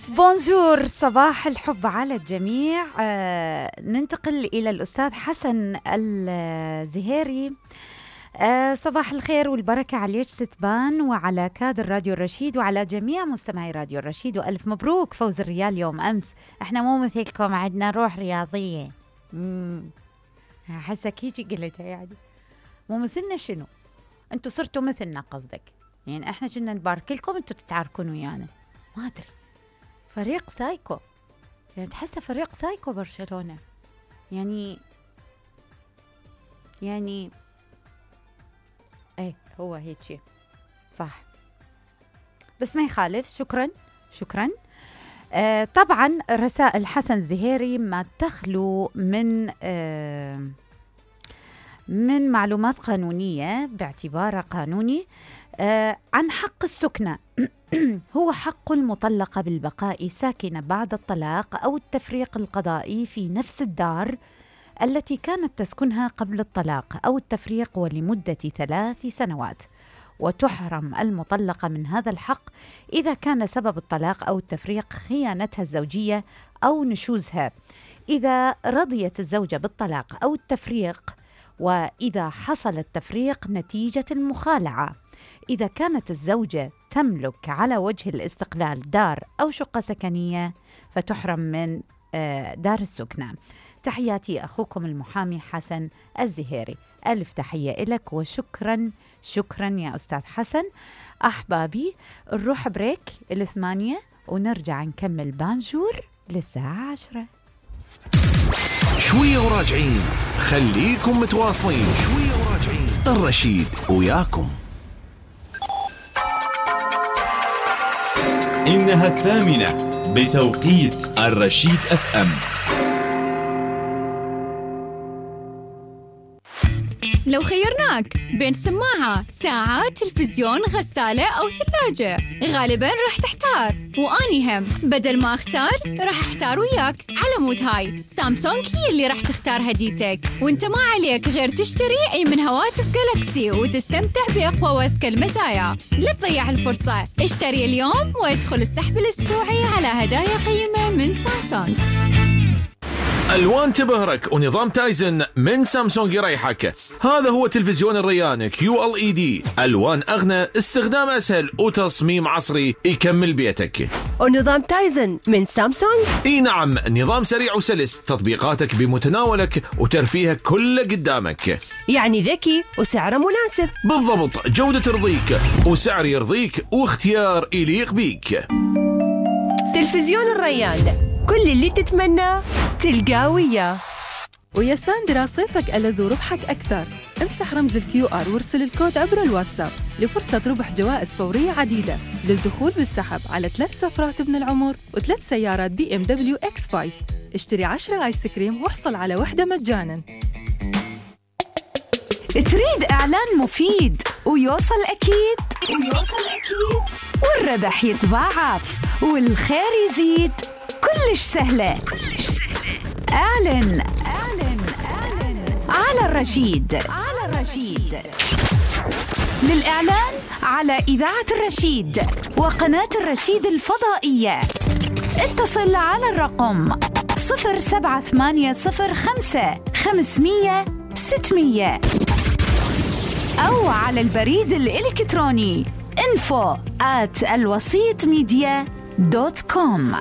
بونجور، صباح الحب على الجميع. ننتقل إلى الأستاذ حسن الزهيري. صباح الخير والبركة عليك ستبان وعلى كادر راديو الرشيد وعلى جميع مستمعي راديو الرشيد، وألف مبروك فوز الريال يوم أمس. احنا مو مثلكم، عندنا روح رياضية. حسا كيجي قلتها يعني مو مثلنا. شنو انتوا صرتوا مثلنا قصدك؟ يعني احنا كنا نبارك لكم، انتوا تتعاركون ويانا. ما ادري، فريق سايكو، يعني تحسه فريق سايكو برشلونة. يعني ايه هو هيك شيء صح، بس ما يخالف. شكرا. طبعا رسائل حسن الزهيري ما تخلو من معلومات قانونية باعتباره قانوني. عن حق السكنة. هو حق المطلقة بالبقاء ساكنة بعد الطلاق أو التفريق القضائي في نفس الدار التي كانت تسكنها قبل الطلاق أو التفريق ولمدة 3 سنوات، وتحرم المطلقة من هذا الحق إذا كان سبب الطلاق أو التفريق خيانتها الزوجية أو نشوزها، إذا رضيت الزوجة بالطلاق أو التفريق، وإذا حصل التفريق نتيجة المخالعة، إذا كانت الزوجة تملك على وجه الاستقلال دار أو شقة سكنية فتحرم من دار السكنة. تحياتي أخوكم المحامي حسن الزهيري. ألف تحية لك وشكرا يا أستاذ حسن. أحبابي نروح بريك 8 ونرجع نكمل بانجور للساعة 10. شوية وراجعين، خليكم متواصلين. شوية وراجعين، الرشيد وياكم. إنها 8 بتوقيت الرشيد FM. لو خيرناك بين سماعة، ساعة، تلفزيون، غسالة أو ثلاجة، غالباً راح تحتار. وأني هم بدل ما أختار راح أحتار وياك. على مود هاي سامسونج هي اللي راح تختار هديتك، وانت ما عليك غير تشتري أي من هواتف جالاكسي وتستمتع بأقوى وأذكى المزايا. لا تضيع الفرصة، اشتري اليوم وادخل السحب الأسبوعي على هدايا قيمة من سامسونج. ألوان تبهرك ونظام تايزن من سامسونج يريحك. هذا هو تلفزيون الريان QLED، ألوان أغنى، استخدام أسهل وتصميم عصري يكمل بيتك. ونظام تايزن من سامسونج؟ اي نعم، نظام سريع وسلس، تطبيقاتك بمتناولك وترفيهك كله قدامك. يعني ذكي وسعره مناسب. بالضبط، جودة ترضيك وسعر يرضيك واختيار يليق بيك. تلفزيون الريان، كل اللي تتمنى تلقاه وياه. ويا ساندرا صيفك ألذ وربحك أكثر. امسح رمز الQR وارسل الكود عبر الواتساب لفرصة ربح جوائز فورية عديدة للدخول بالسحب على 3 سفرات ابن العمر و3 سيارات BMW X5. اشتري 10 آيس كريم واحصل على 1 مجانا. تريد إعلان مفيد ويوصل أكيد والربح يتضاعف والخير يزيد، كلش سهلة. اعلن على الرشيد. للإعلان على إذاعة الرشيد وقناة الرشيد الفضائية اتصل على الرقم 07805 500 600 أو على البريد الإلكتروني info@alwasitmedia.com.